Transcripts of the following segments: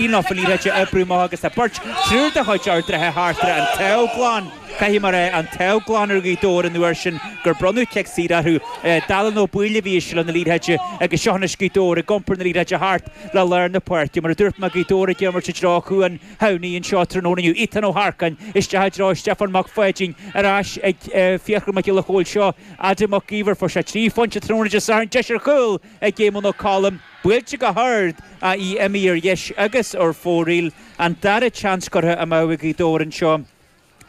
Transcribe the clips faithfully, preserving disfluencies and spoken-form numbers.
Nó an liathróid a oibriú amach agus tá beirt, triúr de chuid Ard an Rátha thart ar an taobh glan. Caithfidh mé a rá, an taobh glan ar Ghaoth Dobhair an uair sin gur bronnadh cic saor orthu. Dallán Ó Baoill a bhí i seilbh na liathróide agus seo anois Gaoth Dobhair ag iompar na liathróide thart le lár na páirce. Mar a dúirt mé, Gaoth Dobhair ag imirt i dtreo Chuan Shamhnaí anseo tráthnóna inniu. Ethan Ó hEarcáin isteach i dtreo Stiofán Mac Pháidín ar ais ag Fiachra Mac Giolla Chóill. Seo Adam Mac Íomhair. Fuair sé trí phointe tráthnóna Dé Sathairn. Deis ar chúl ag Éamonn Ó Colm. Buailte go hard ach í imithe ar dheis agus ar fóraoil. An dara seans curtha amú ag Gaoth Dobhair anseo.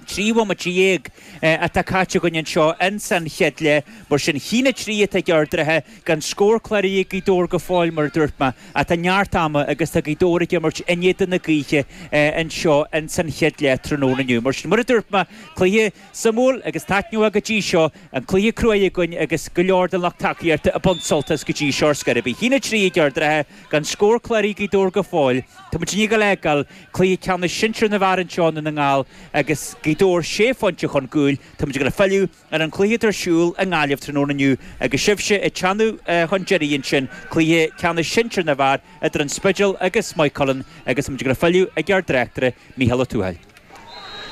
Trí bhomaite dhéag atá caite againn anseo ins an chéad leath. Mar sin, a haon a trí atá ag Ard an Rátha, gan scór cláraithe ag Gaoth Dobhair go fóill, mar a dúirt mé. Ach tá neart ama agus tá Gaoth Dobhair ag imirt in éadan na gaoithe anseo ins an chéad leath tráthnóna inniu. Mar sin, mar a dúirt mé, cluiche suimiúil agus taitneamhach go dtí seo, an cluiche cruaidh againn agus go leor den lucht tacaíochta ag baint sult as go dtí seo ar scor ar bith. A haon a trí ag Ard an Rátha, gan scór cláraithe ag Gaoth Dobhair go fóill. Tá muid i ndiaidh a fheiceáil cluiche ceannais sinsir na bhfear anseo i nDún na nGall agus Gaoth Dobhair sé phointe chun cúil. Tá muid ag dul a filleadh ar an chluiche atá ar siúl i nGaillimh tráthnóna inniu agus sibhse ag teannadh chun deiridh ansin, cluiche ceannais sinsir na bhfear idir An Spidéal agus Maigh Cuilinn agus tá muid ag dul a filleadh ag ár dtráchtaire Mícheál Ó Tuathail.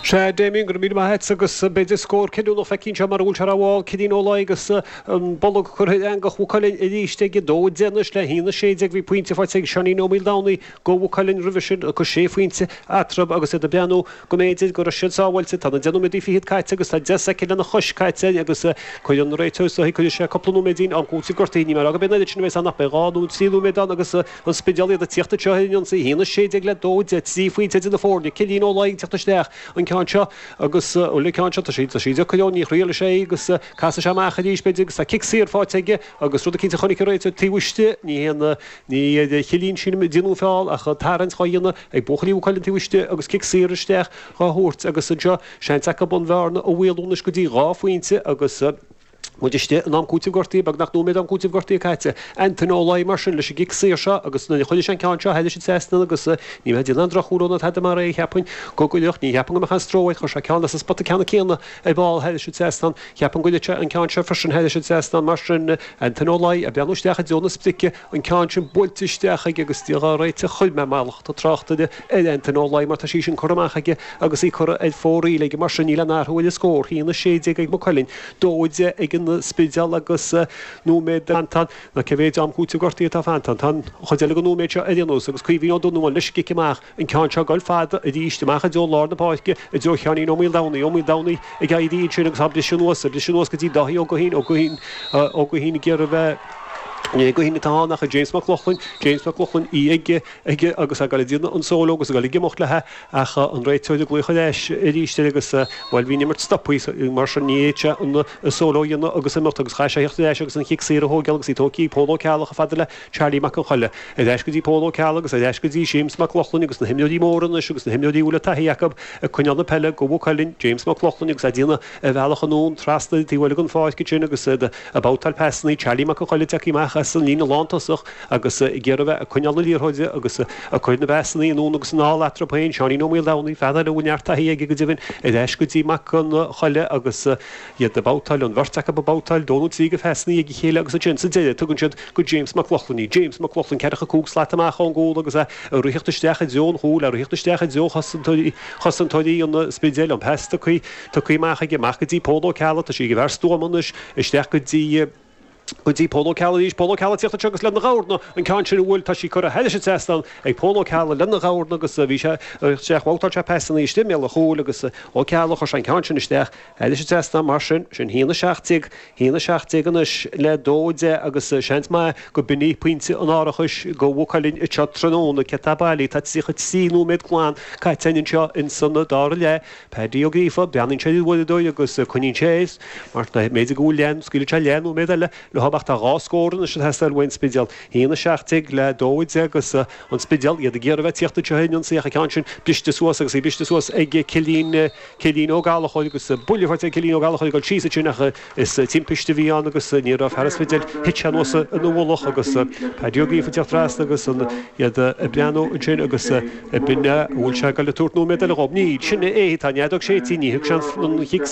Sea, Damien, go raibh míle maith agat agus b'fhéidir scór cinniúnach feicthe anseo mar a bhfuil sé ar ball, Cillian Ó Laoi agus an bolg curtha ar eangach Mhaigh Cuilinn arís aige, dó a deich anois le haon a sé déag. Bhí pointe faighte ag Seáinín Ó Maoldomhnaigh go Mhaigh Cuilinn roimhe sin agus sé phointe eatarthu agus iad ag breathnú go mb'fhéidir go raibh siad sábháilte. Tá na deich nóiméadaí fichead caite agus tá deich soicind lena chois caite agus cuireann an réiteoir is dóichí cuirfidh sé cúpla nóiméidín am cúitimh gortaithe. Ní mé a rá go mbeidh an oiread sin a bheas ann ach beidh dhá nó trí nóiméad ann agus an Spidéal iad ag tíocht anseo ar an ionsaí. A haon a sé déag le dó a deich, trí phointe idir na foirne. Cillian Ó Laoi ag tíocht isteach an ceann seo agus bhuel an ceann seo tá sí tá sí deacair ní thriailfidh sé í agus casfaidh sé amach arís b'fhéidir agus tá cic saor faighte aige agus rud eicínt a chonaic an réiteoir taobh istigh ní haon ní ar Chillian sílim a déanadh an feall ach tarraingt dhá dhéanamh ag buachaillí Mhaigh Cuilinn taobh istigh agus cic saor isteach dhá thabhairt agus anseo seans acu an bhearna a mhaolú anois go dtí dhá phointe agus muid istigh in am cúitimh gortaithe, beagnach nóiméad am cúitimh gortaithe caite. Antaine Ó Laoi mar sin leis an gcic saor seo agus nuair a chuirfidh sé an ceann seo thairis an trasnán agus ní bheidh déanamh aon droch-chúl ná tada mar é, cheapfainn go gcuirfeadh, ní cheapaim go mbeadh aon stró air, chuir sé ceann as an spota ceannann céanna ar ball thairis an trasnán, cheapfainn go gcuirfeadh sé an ceann seo freisin thairis an trasnán mar sin. Antaine Ó Laoi ag breathnú isteach i dtreo na sprice, an ceann sin buailte isteach aige agus Dia dhá réiteach chuir mé mallacht an tráchtaire ar Antaine Ó Laoi mar tá sí sin curtha amach aige agus í curtha ar fóraoil aige mar sin níl aon athrú ar an scór, a haon a sé déag ag Maigh Cuilinn, dó a deich ag an Spidéal agus nóiméad fanta nó cé mhéid am cúitimh gortaithe atá fanta. Tá an chuid eile den nóiméad seo ar aon nós agus Caoimhín Ó Donnabháin leis an gcic amach, an ceann seo ag dul fada arís amach i dtreo lár na páirce, i dtreo Sheáinín Ó Maoldomhnaigh, Ó Maoldomhnaigh ag éirí ansin agus á briseadh anuas, á briseadh anuas go dtí Dáithí Ó Guithín, Ó Guithín, Ó Guithín ag iarraidh a bheith, ní é Guithín atá ann ach James Mac Lochlainn, James Mac Lochlainn, í aige, aige agus ag dul ag déanamh an solo agus ag dul ag imeacht léi ach an réiteoir ag glaoch ar ais arís air agus, bhuel, bhí an imirt stoptha mar sin ní fhéad sé an solo a dhéanamh agus imeacht agus chaith sé a theacht ar ais agus an chic saor a thógáil agus í tógtha ag Pól Ó Ceallaigh chomh fada le Charlie Mac an Choille. Ar ais go dtí Pól Ó Ceallaigh agus ar ais go dtí Séamus Mac Lochlainn agus na himreoirí móra anois agus na himreoirí a bhfuil taithí acu ag coinneáil na peile go Mhaigh Cuilinn, James Mac Lochlainn agus é ag déanamh a bhealach anonn trasna an taobh eile den pháirc ansin agus iad ag babhtáil pasannaí, Charlie Mac an Choille tagtha amach as an líne lántosach agus ag iarraidh a bheith ag coinneáil na liathróide agus ag cur na bpasannaí anonn agus anall eatarthu féin, Seáinín Ó Maoldomhnaigh, fear eile a bhfuil neart taithí aige go deimhin, ar ais go dtí Mac an Choille agus iad ag babhtáil, an bheirt acu ag babhtáil, dó nó trí de phasannaí ag a chéile agus ansin sa deireadh tugann siad go James Mac Lochlainn í. James Mac Lochlainn, ceathracha cúig slat amach ón gcúl agus é ag ritheacht isteach i dtreo an chúil, ag ritheacht isteach i dtreo chosantóirí, chosantóirí an Spidéil, an pas tugtha, tugtha amach aige, amach go dtí Pól Ó Ceallaigh, tá sí ag an bhfear stuama anois, isteach go dtí, go dtí Pól Ó Ceallaigh arís, Pól Ó Ceallaigh ag tíocht anseo agus lena dhorna, an ceann sin a bhuail, tá sí curtha thairis an trasnán ag Pól Ó Ceallaigh lena dhorna agus bhí sé isteach, bhabhtáil sé pasannaí istigh i mbéal an chúil agus Ó Ceallaigh, chuir sé an ceann sin isteach thairis an trasnán mar sin, sin haon a seacht déag, haon a seacht déag anois le dó a deich agus seans maith go b'in í pointe an árachais go Mhaigh Cuilinn anseo tráthnóna, cé atá bailí, tá tríocha trí nóiméad glan caite againn anseo ins an dara leath. Paddy Ó Gríofa, breathnaíonn sé ar an uaireadóir agus coinníonn sé air, mar b'fhéidir go bhfuil leath, scaoilfidh sé leath nóiméad eile leo ach tá dhá scór anois ag teastáil uaidh an Spidéal, haon a seacht déag le dó a deich agus an Spidéal, iad ag iarraidh a bheith ag tíocht anseo ar an ionsaí ach an ceann sin briste suas agus í briste suas ag Cillian, Cillian Ó Gallchóir agus buille faighte ag Cillian Ó Gallchóir ag dul síos ansin ach is timpiste a bhí ann agus ní raibh fear an Spidéil, thit sé anuas ina mhullach agus Paddy Ó Gríofa ag teacht trasna agus iad ag breathnú ansin agus b'in é, an bhfuil sé ag dul ag tabhairt nóiméad eile dhób? Níl, sin é, tá an fheadóg séidte, ní thug sé an chic saor.